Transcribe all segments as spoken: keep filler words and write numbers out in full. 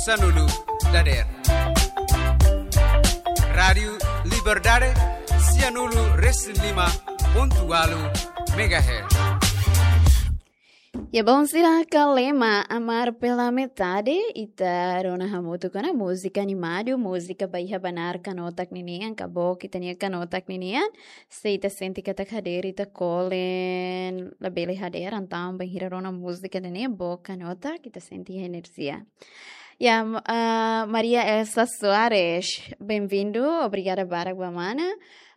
Sanulu dader. Rádiu Liberdade, sianulu resin lima pontu ualu megahertz. Ya, bom, sira, Kalema, Amar pela Metade, ita rona hamutuk ona múzika animadu, múzika ba iha banar kanotak ninian, ka book ita-nia kanotak ninian, se ita sente katak hadeer ita kolen labele hadeer, entaun bainhira rona múzika ne'e, book kanotak, ita sente enerjia. Ya, m-, ah, Maria Elsa Soares, bem-vindo, obrigada barak ba mana.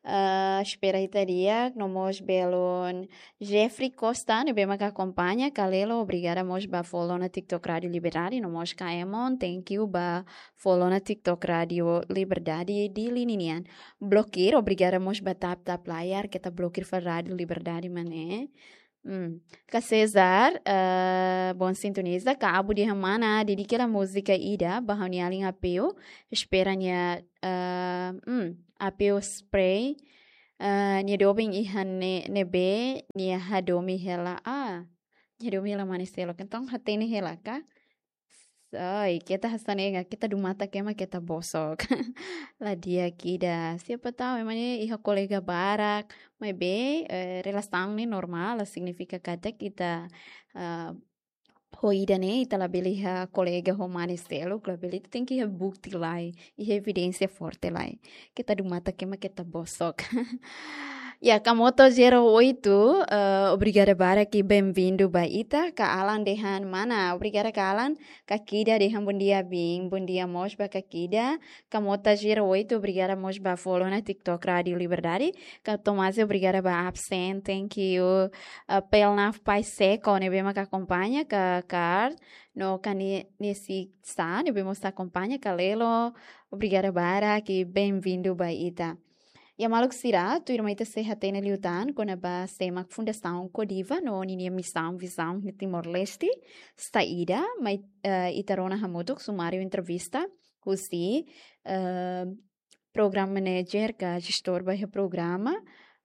Ah, espera ita di'ak, no mós belun Jeffrey Costa, ne'ebé maka akompaña, Kalelo, obrigada mós ba follow ona TikTok Rádiu Liberdade, no mós Kaemon, thank you ba follow ona TikTok Rádiu Liberdade Dili ninian. Blokir, obrigada mós ba tap tap layar, keta blokir fali Rádiu Liberdade mak ne'e. Hmm. Ka Cesar, eh, bom sintoniza, ka Abu dehan mana, dedika hela múzika ida, ba ha'u-nia alin Apeu, espera nia, eh, hmm, Apeu Spray, eh, nia doben iha ne'e, ne'ebé, nia hadomi hela, ah, nia hadomi hela mane seluk, entaun hatene hela ka? Sai, keta hanesan ne'e, keta dun matak ema keta bosok. La di'ak ida. Siapa tahu, ema ne'e iha kolega barak, maibé, eh, relasaun ne'e normál, la signifika katak ita, eh, ho ida ne'e, ita labele iha kolega ho mane seluk, labele, ita tenke iha bukti lai, iha evidénsia forte lai. Keta dun matak ema keta bosok. Ya, Kamoto zero oito, eh, obrigada barak i bem-vindo ba ita. Ka Alan dehan mana, obrigada ka Alan. Ka Kida dehan bom dia, bin. Bom dia mós ba ka Kida. Kamoto zero oito, obrigada mós ba follow ona TikTok Rádiu Liberdade. Ka Tomás, obrigada ba absen, thank you. Eh, Pelnaf Pai Seko, ne'ebé maka akompaña, ka Kar, no ka Ne-, Nesi Sa, ne'ebé mós akompaña, Kalelo, obrigada barak i bem-vindo ba ita. Ya maluk sira, tuirmai ita sei hatene liután kona-ba sé mak Fundasaun Kodiva no ninia misaun, vizaun iha Timor-Leste, saida, mai, eh, ita rona hamutuk sumáriu entrevista husi, eh, program manager ka jestór ba iha programa,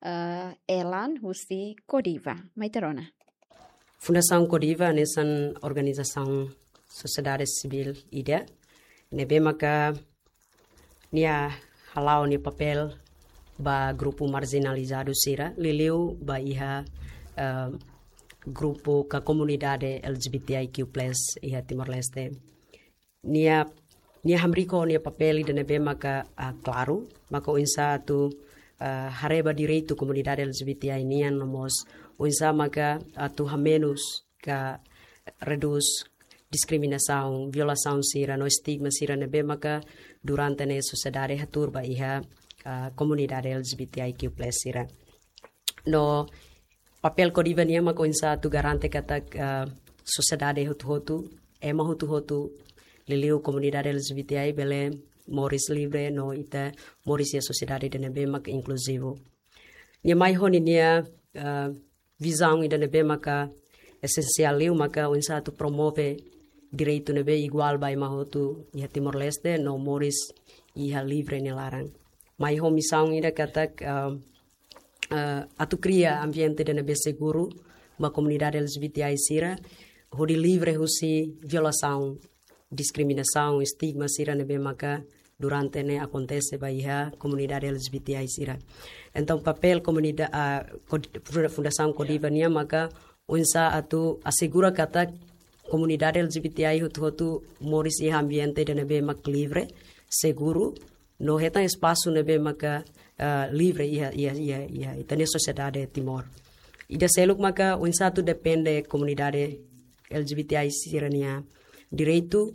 eh, Elan husi Kodiva. Mai ita rona. Fundasaun Kodiva hanesan organizasaun sosiedade sivíl ida, ne'ebé maka nia hala'o nia papél ba grupu marjinalizadu sira, liuliu ba iha, eh, grupu ka komunidade L G B T I Q plus iha Timor-Leste. Nia, nia hamriik ho nia papél ida ne'ebé maka, ah, klaru, maka oinsá atu, ah, haree ba direitu komunidade L G B T I nian no mós oinsá maka atu hamenus ka redús diskriminasaun, violasaun sira no estigma sira ne'ebé maka durante ne'e sosiedade hatuur ba iha, ah, komunidade L G B T I Q plus sira. No papél Kodiva nian maka oinsá atu garante katak, ah, sosiedade hotu-hotu, ema hotu-hotu, liuliu komunidade L G B T I bele moris livre no ita moris iha sosiedade ida ne'ebé maka inkluzivu. Nia mai ho ninia, ah, vizaun ida ne'ebé maka esensiál liu maka oinsá atu promove direitu ne'ebé iguál ba ema hotu iha Timor-Leste no moris iha livre nia laran. Mai ho misaun ida katak, ah, ah, atu kria ambiente ida ne'ebé seguru ba komunidade L G B T I sira, hodi livre husi violasaun, diskriminasaun, estigma sira ne'ebé maka durante ne'e akontese ba iha komunidade L G B T I sira. Entaun papél komunida-, ah, Kod-, Funda-, Fundasaun Kodiva nian maka oinsá atu asegura katak komunidade L G B T I hotu-hotu moris iha ambiente ida ne'ebé mak livre, seguru, no hetan espasu ne'ebé maka, ah, livre iha, iha, iha, iha ita-nia sosiedade Timor. Ida seluk maka oinsá atu defende komunidade L G B T I sira-nia direitu,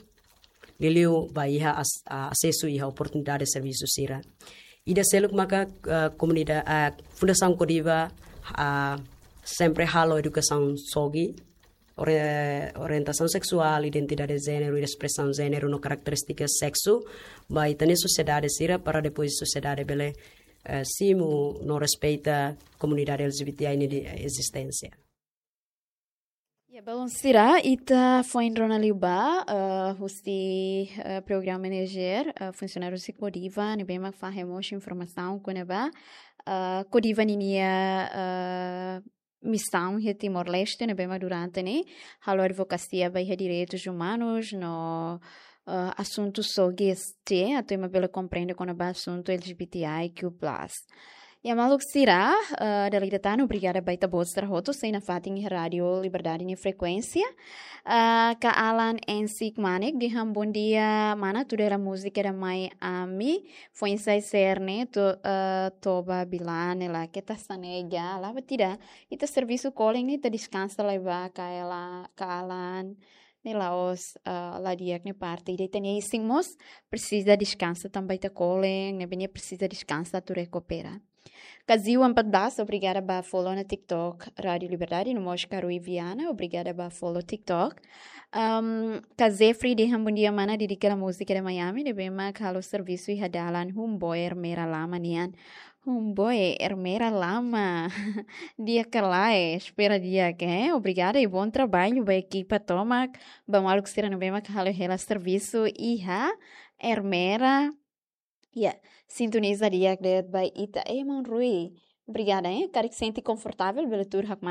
liuliu ba iha as-, ah, asesu iha oportunidade servisu sira. Ida seluk maka, ah, komunida-, ah, Fundasaun Kodiva, ah, sempre halo edukasaun sogi, ori-, orientasaun seksuál, identidade jéneru, espresaun jéneru no karakterístika seksu ba ita-nia sosiedade sira para depois sosiedade bele, eh, simu no respeita komunidade L G B T I ninia ezisténsia. Ya, belun sira, ita foin rona liubá, eh, husi, eh, program manager, eh, funsionáriu husi Kodiva, ne'ebé mak fahe mós informasaun kona-ba, eh, Kodiva ninia, eh, misaun iha Timor-Leste, ne'ebé mak durante ne'e halo advokasia ba iha direitus umanus no, eh, asuntu só G S T, atu ema bele komprende kona-ba asuntu L G B T I Q plus. Ya maluk sira, eh, dala ida tan obrigada ba ita-boot sira hotu sei nafatin iha Rádio Liberdade nia frekuénsia. Eh, Ka Alan Ensik Manek dehan bondia mana, tudo era música da mãe ami, foin-sa'e sira-ne'e to-, eh, toba bilane la keta sanega, la batida. Ita servisu kolen ne'e ita deskansa lai ba Ka Ela-, Ka Alan ne'e la'ós, eh, la di'ak nia parte. Ita-nia isin mós presiza deskansa tanba ita kolen, ne'ebé nia presiza deskansa atu rekupera. Kazio empat belas, obrigada ba follow ona TikTok Rádio Liberdade, no mós Karui Viana, obrigada ba follow TikTok. Um, Ka Jeffrey dehan bondia mana, dedika la música da mãe ami, ne'ebé mak halo servisu iha dalan, humboer mera lama nian. Humboe, Ermera lama. Di'ak ka lae, espera di'ak, eh? Obrigada i bom trabalho ba ekipa tomak, ba maluk sira ne'ebé mak halo hela servisu iha Ermera. Ya, sintoniza di'ak de'it ba ita, eh, maun Rui. Obrigada, eh? Karik sente konfortavel, bele tuur hakmatek